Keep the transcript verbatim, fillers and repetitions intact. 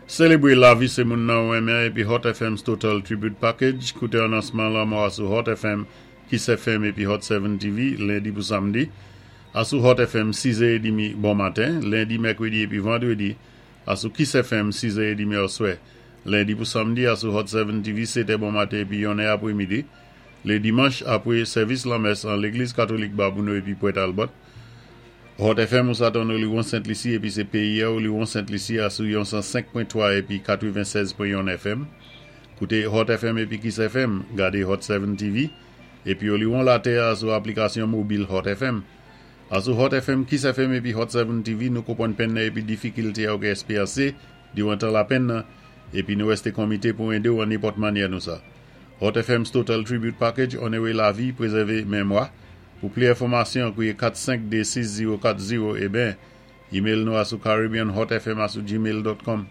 Sélébwé lavi sé moun nan ou renmen épi Hot F M's Total Tribute Package. Kouté anonsman lanmò a sou Hot F M, Kiss F M épi Hot sept T V, lendi pou samdi. A sou Hot F M sis è trant bon maten, lendi, mèkwédi épi vandwédi. A sou Kiss F M sis è trant oswè. Lendi pou samdi a sou Hot sept T V sèt è bon maten épi yon è apwé midi. Lé dimanch apwé sèvis lanmès an Légliz Katolik Babonneau épi Port Talbot. Hot F M ou sa tann Oléron Sent-Lisi épi sé péyi a Oléron Sent-Lisi a sou cent cinq point trois épi quatre-vingt-seize point un F M. Kouté Hot F M épi Kiss F M, gadé Hot sept T V épi Oléron Latè a sou aplikasyon mobil Hot F M. A sou Hot F M, Kiss F M épi Hot sept T V, nou konpwann penn épi difikilte ou ka ékspéryansé diwan tan lapenn nan, épi nou wésté konmité pou édé ou an nenpòt mannyè nou sa. Hot F M's Total Tribute Package, onoré lavi, pwézèvé mémwa. Pou plis enfòmasyon, kwiyé kat senk de sis zewo kat zewo, ében, email nou a sou caribbeanhotfm a sou gmail dot com.